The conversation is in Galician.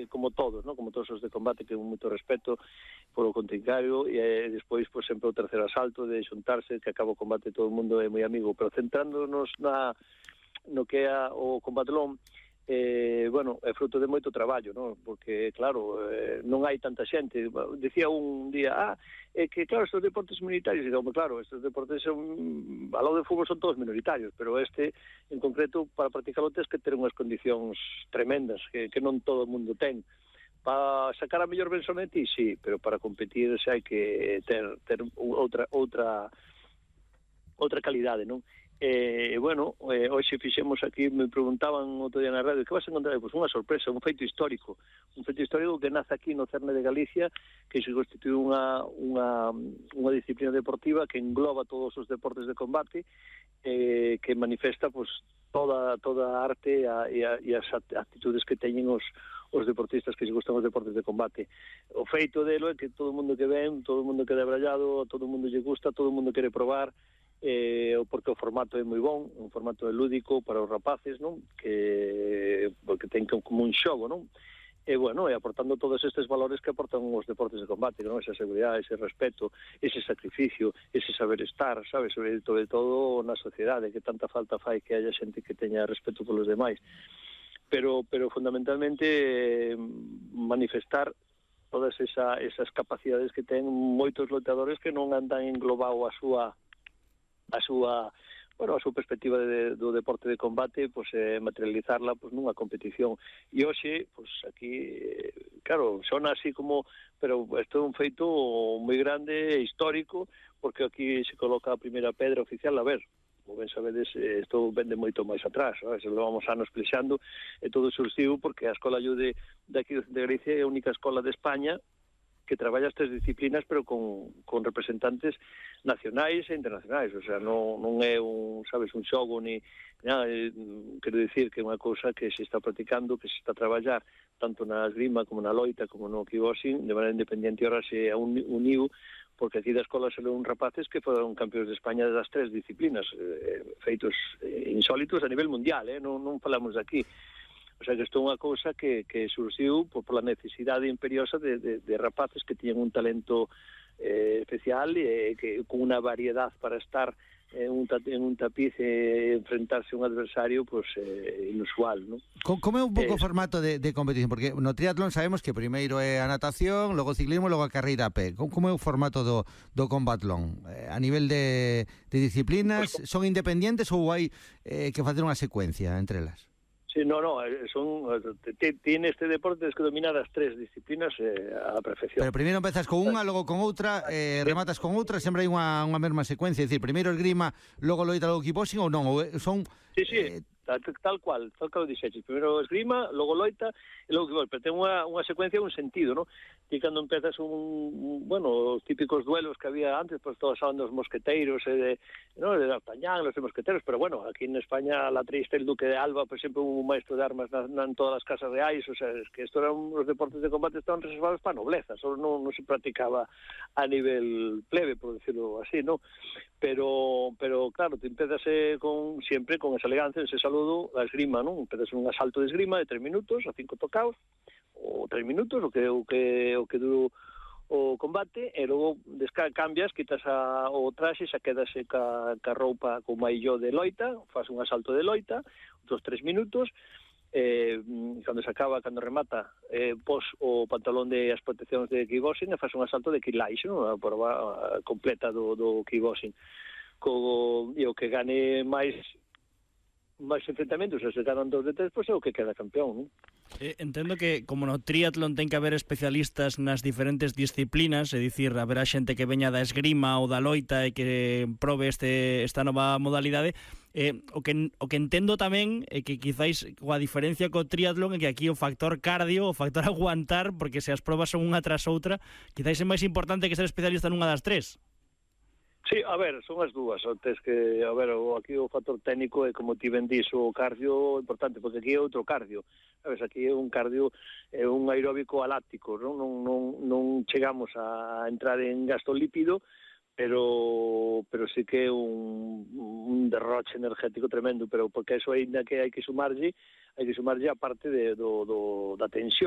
como todos, ¿no? Como todos os de combate, que un moito respeto polo contrincário, e despois, pois, sempre o terceiro asalto de xuntarse, que acaba o combate, todo o mundo é moi amigo, pero centrándonos no que é o combatlón, bueno, é fruto de moito traballo, ¿no? Porque, claro, non hai tanta xente. Decía un día, que, claro, estes deportes minoritarios, e digo, claro, estes deportes son, ao lado de fútbol son todos minoritarios, pero este, en concreto, para practicarlo tens que ter unhas condicións tremendas, que non todo o mundo ten. Para sacar a mellor versión de ti, sí, pero para competir xa hai que ter outra calidade, non? Bueno, hoxe fixemos aquí, me preguntaban outro día na radio, que vas a encontrar? Pois unha sorpresa, un feito histórico que nace aquí no cerne de Galicia, que se constitui unha disciplina deportiva que engloba todos os deportes de combate, que manifesta, pois, toda a arte e as actitudes que teñen os deportistas que se gustan os deportes de combate. O feito delo é que todo o mundo que ven, todo o mundo que é brallado, todo o mundo lle gusta, todo o mundo quere probar, porque o formato é moi bon, un formato lúdico para os rapaces, non? Porque ten como un xogo, non? E, bueno, aportando todos estes valores que aportan os deportes de combate, non? Esa seguridade, ese respeto, ese sacrificio, ese saber estar, sabes? Sobre todo na sociedade, que tanta falta fai que haya xente que teña respeto polos demais. Pero fundamentalmente manifestar todas esas capacidades que ten moitos loitadores que non andan englobado a súa perspectiva do deporte de combate, pois materializarla pois nunha competición. E hoxe, pois aquí, claro, sona así como, pero isto é un feito moi grande e histórico, porque aquí se coloca a primeira pedra oficial. A ver, como ben sabedes, isto vende moito máis atrás, se levamos anos plexando, e todo surxiu porque a Escola Ayude de aquí do Centro de Galicia é a única escola de España que traballa estas disciplinas, pero con representantes nacionais e internacionais, o sea, non é un xogo ni nada, quero dicir que é unha cousa que se está practicando, que se está a traballar tanto na esgrima como na loita como no kickboxing de maneira independente. Ahora se uniu porque aquí da escola se leon rapaces que foron campeóns de España das 3 disciplinas, feitos insólitos a nivel mundial, non falamos de aquí. O sea, que isto é unha cousa que surxiu pola necesidade imperiosa de rapaces que tiñan un talento especial e con unha variedade para estar en un tapiz e enfrentarse a un adversario pues, inusual, ¿no? Como é un pouco o formato de competición? Porque no triatlón sabemos que primeiro é a natación, logo o ciclismo, logo a carreira a pé. Como é o formato do combatlón? A nivel de disciplinas, son independentes ou hai que facer unha secuencia entre elas? Sí, tiene este deporte, tienes que dominar as 3 disciplinas a la perfección. Pero primeiro empezas con unha, logo con outra, rematas con outra, sempre hai unha mesma secuencia, é dicir, primeiro esgrima, logo loita, logo kickboxing, ou non? Son... Sí. Tal cual o dixeches. Primeiro esgrima, logo loita e logo kickboxing, pero ten unha secuencia, un sentido, ¿no? Ti cando empezas os típicos duelos que había antes, pues todos hablan dos mosqueteiros de D'Artagnan, los mosqueteros, pero bueno, aquí en España la triste el Duque de Alba, por exemplo, un maestro de armas en todas as casas reais, o sea, es que esto eran os deportes de combate estaban reservados para nobleza, solo non se practicaba a nivel plebe, por decirlo así, ¿no? Pero claro, te empezas siempre con esa elegancia, ese saludo, a esgrima, ¿no? Empezas un asalto de esgrima de 3 minutos, a 5 tocaos, ou 3 minutos, o que duro o combate, e logo cambias, quitas o traxe, xa quedase ca roupa con mailló de loita, faz un asalto de loita, outros 3 minutos, cando remata, pos o pantalón de as proteccións de kickboxing e faz un asalto de kickboxing, a prova completa do kickboxing. E o que gane máis enfrentamentos, se ganan 2 de 3, pois é o que queda campeón, non? Entendo que, como no triatlón ten que haber especialistas nas diferentes disciplinas, é dicir, haberá xente que veña da esgrima ou da loita e que probe esta nova modalidade. O que entendo tamén é que quizáis a diferencia co triatlón é que aquí o factor cardio, o factor aguantar, porque se as probas son unha tras outra, quizáis é máis importante que ser especialista nunha das 3. Sí, a ver, son as dúas, aquí o factor técnico é, como ti ben dís, o cardio importante, porque aquí é outro cardio, sabes, aquí é un cardio, é un aeróbico aláctico, non chegamos a entrar en gasto lípido, pero sí que é un derroche energético tremendo, pero porque eso ainda que hai que sumarlle a parte da tensión.